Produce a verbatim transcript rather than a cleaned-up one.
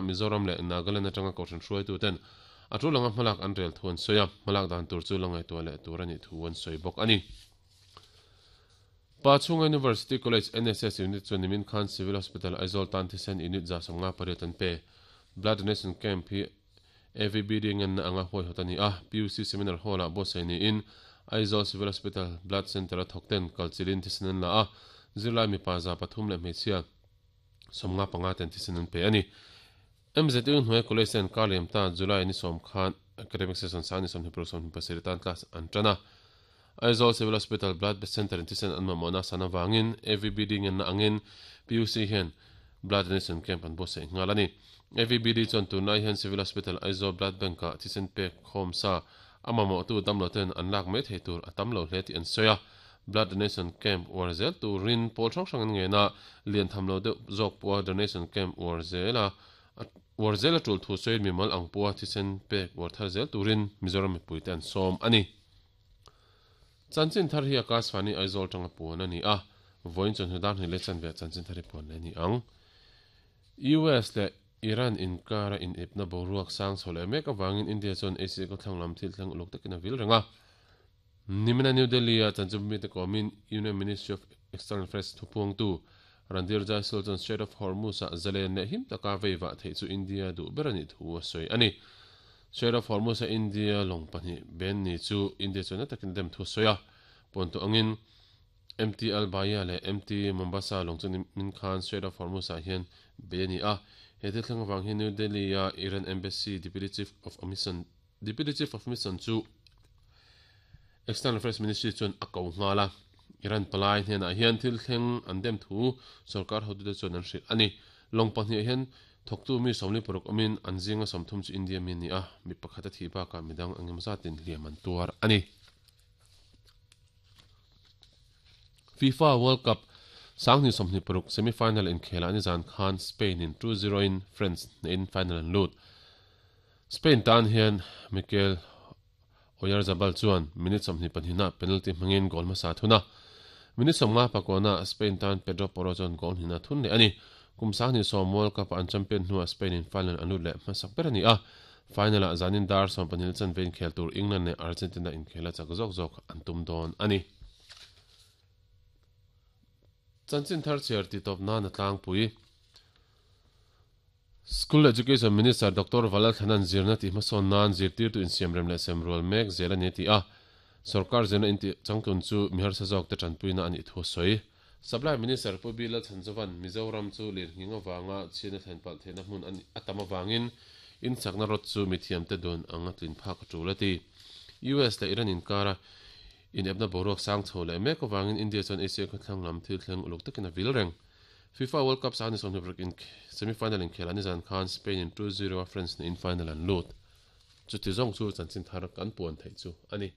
Mizoram leh Nagaland atanga kohhran hruaituten a tul anga hmalak an rel thu an sawi a, hmalak dan tur chu la ngaihtuah leh tur a nih thu an sawi bawk a ni. Pachhunga University College N S S Unit chuan nimin khan Civil Hospital Aizawl tan thisen unit za sawmnga pariat an pe. Blood Donation Camp hi A V B D ngenna anga huaihawt a ni a, P U C Seminar Hall-ah buatsaih niin Aizawl Civil Hospital Blood Centre-a thawkten kalchilin thisen an la a, zirlai mipa za pathum leh hmeichhia sawmnga panga ten thisen an pe a ni. M Z U hnuai College ten kar liam ta July ni sawm khan Academic Session sang ni sawmhnih paruk sawmhnih pasarih tan class an tan a. Aizawl Civil Hospital Blood Centre in thisen an mamawhna san avangin A V B D ngenna angin P U C hian Blood Donation Camp an buatsaih nghal a ni. A V B D chuan tunlai hian Civil Hospital Aizawl Blood Bank-ah thisen pek khawm sa a mamawhtu damlo ten an lak mai thei tur a tam lo hle tih an sawi a. Blood Donation Camp uar zel turin pawl hrang hrang an ngen a, lian tham lo deuh zawk pawha Donation Camp uar zel a, uar zel a tul thu sawiin mimal ang pawha thisen pek uar thar zel turin Mizoram mipuite an sawm a ni. Chanchin thar hi Akashvani Aizawl tanga puan a ni a, vawiin chuan hnu dar hnih leh chanve ah chanchin thar hi puan leh a ni ang. U S leh Iran inkara inepna boruak sang chho leh mek avangin India chuan Asia khawthlang lam thil thleng uluk takin a vil reng a. Nimina New Delhi-a chanchin mite kawmin Union Ministry of External Affairs thupuangtu Randhir Jaiswal chuan Strait of Hormuz-ah zalen leh him taka veivah theih chu India duh ber a nih thu a sawi a ni. Strait of Hormuz-a India lawng pahnih ben ni chu India chuan na takin a dem thu a sawi a. Pawntu angin M T Al Bahia leh M T Mombasa lawng chu nimin khan Strait of Hormuz-ah hian bei a ni a. He thil thleng avang hian New Delhi-a Iran Embassy Deputy Chief of Mission Deputy Chief of Mission chu External Affairs Ministry chuan a ko nghal a. Iran palai hnenah hian thil thleng an dem thu sorkar hotute chuan an hrilh a ni. Lawng pahnih hian thawktu mi sawmli paruk awmin an zinga sawmthum chu India mi a ni a, mi pakhat a thih bakah midang eng emaw zatin hliam an tuar a ni. FIFA World Cup sanghnih sawmhnih paruk semi-final inkhelah nizan khan Spain in two zero in France hnehin final an lut. Spain tan hian Mikel Oyarzabal chuan minute sawmhnih pahnihna penalty hmangin goal hmasa thun a. Minute sawmnga pakuana Spain tan Pedro Porro chuan goal hnihna thun leh a ni. Kum sanghnih sawm World Cup-a an champion hnuah Spain in final an lut leh hmasak ber a ni a. Final-ah zanin dar sawm pahnih chanve inkhel tur England leh Argentina inkhel a chak zawk zawk an tum dawn a ni. Chanchin thar chhiar tih tawp nan a tlangpui. School Education Minister Doctor Valal Thanan zirna tih hmasawn nan zirtirtu insiamrem leh semrual mek zel a ni a ti a. Sorkar zirna intih changtlun chu mi harsa zawkte tanpuina a nih thu a sawi. Supply Minister Pu Bilal Chhanzovan Mizoram chu lirnghing avanga chhiatna thlen palh theihna hmun a a tam avangin insakna rawt chu mithiamte dun anga tlin phak a tul a ti. U S leh Iran inkara inepna boruak sang chho leh mek avangin India chuan Asia khawthlang lam thil thleng uluk takin a vil reng. FIFA World Cup sang ni sawmhnih paruk in semi-final inkhelah nizan khan Spain in two zero a France hnehin final an lut. Chuti zawng chu chanchin thar kan puan theih chu a ni.